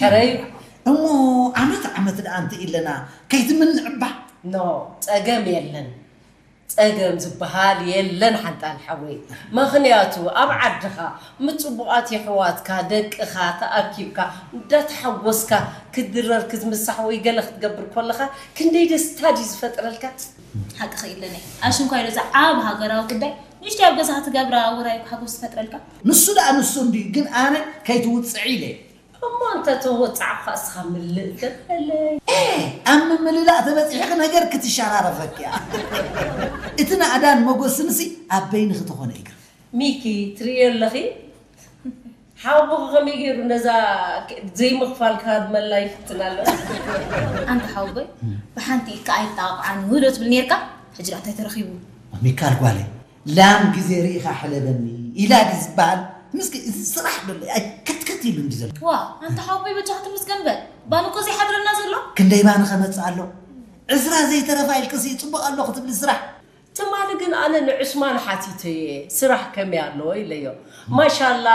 ሕረዩ። እሞ ዓመት ዓመት ደኣ እንተ ኢለና ከይትምንዕባ። ኖ፣ ጸገም የለን። ጸገም ዝበሃል የለን ሓንጣል ሓወይ። ምኽንያቱ ኣብ ዓድኻ ምስ ጽቡቓት የሕዋትካ ደቅኻ ተኣኪብካ እንዳተሓጎስካ ክትድረር ክትምሳሕ ወይ ገለ ክትገብር ከለኻ ክንደይ ደስታ ድዩ ዝፈጥረልካ? ሓቂ ኸኢለኒ ኣሽንኳይ ዶ እዛ ዓብ ሃገራዊ ጉዳይ ንሽቲ ኣብ ገዛ ክትገብራ ውራይ ሓጎስ ትፈጥረልካ። ንሱ ደኣ ንሱ እንድዩ ግን ኣነ ከይትውፅዒ ኢለ። እሞ እንተ ተወጻዕኳ እስኻ ምልእ ትበለይ። ኣብ ምምልላእ ተበፂሕኺ ነገር ክትሸራረፈኪ እያ። እቲ ናእዳን መጎስንሲ ኣብ በይንኺ ተኾነ ይግር። ሚኪ ትርእዮ ኣለኺ ሓውቦኺ ከመይ ገይሩ ነዛ ዘይምኽፋል ክሃድመላ ይፍትን ኣሎ። ኣንታ ሓውቦይ ብሓንቲ ኢካ ኣይጣቕዓን ውህዶ ትብል ነርካ ሕጂ እንታይ ተረኺቡ። ሚካል ጓለይ ላም ግዜ ርኢኻ ሕለበኒ ኢላ ድዩ ዝበሃል? ምስኪ እዚ ስራሕ ዶ ኣይ ከትከት ኢሉ እንዲ ዘሎ። ዋ ኣንታ ሓወቦይ በጃኻ ትምስገን በል። ባኒ እኮ ዘይሓድረና ዘሎ። ክንደይ ባኒ ከመጽእ ኣሎ? ዕስራ ዘይተረፋ ኢልክሲ ጽቡቕ ኣሎ ክትብሊ ስራሕ። ትማሊ ግን ኣነ ንዑስማን ሓቲተየ ስራሕ ከመይ ኣለዎ ኢለዮ። ማሻላ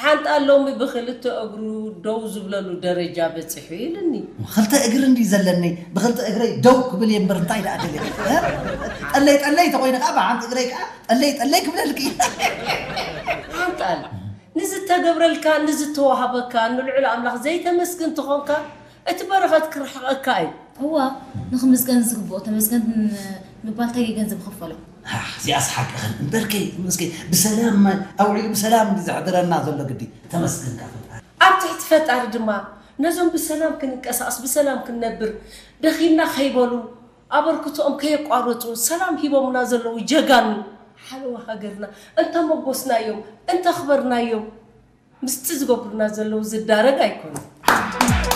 ሓንጣ ሎሚ ብክልተ እግሩ ደው ዝብለሉ ደረጃ በፂሑ ኢልኒ። ክልተ እግሪ እንዲ ዘለኒ ብክልተ እግረይ ደው ክብል እየ እምበር እንታይ ደኣ ደለ ጠለይ ጠለይ ተኮይነ ከዓ ብሓንቲ እግረይ ከዓ ጠለይ ጠለይ ክብለልኪ። ሓንጣል ንዝተገብረልካ ንዝተዋሃበካ ንልዑል ኣምላኽ ዘይተመስግን ተኾንካ እቲ በረኸት ክርሕቐካ እዩ። እዋ ንኽምስገን ዝግብኦ ተመስገን ምባል እንታይ ገንዘብ ይኽፈሎ? እዚኣስ ሓቅኽን እምበርከይ መስገን ብሰላም ኣውዒሉ ብሰላም ዘሕድረና ዘሎ ግዲ ተመስገን ካብ ፈጣሪ። ኣብ ትሕቲ ፈጣሪ ድማ ነዞም ብሰላም ክንንቀሳቐስ ብሰላም ክንነብር ደኺምና ከይበሉ ኣበርክቶኦም ከየቋረፁ ሰላም ሂቦምና ዘለዉ ጀጋኑ ሓለዋ ሃገርና እንተመጎስናዮም እንተኽበርናዮም ምስቲ ዝገብሩና ዘለዉ ዝዳረግ ኣይኮኑን።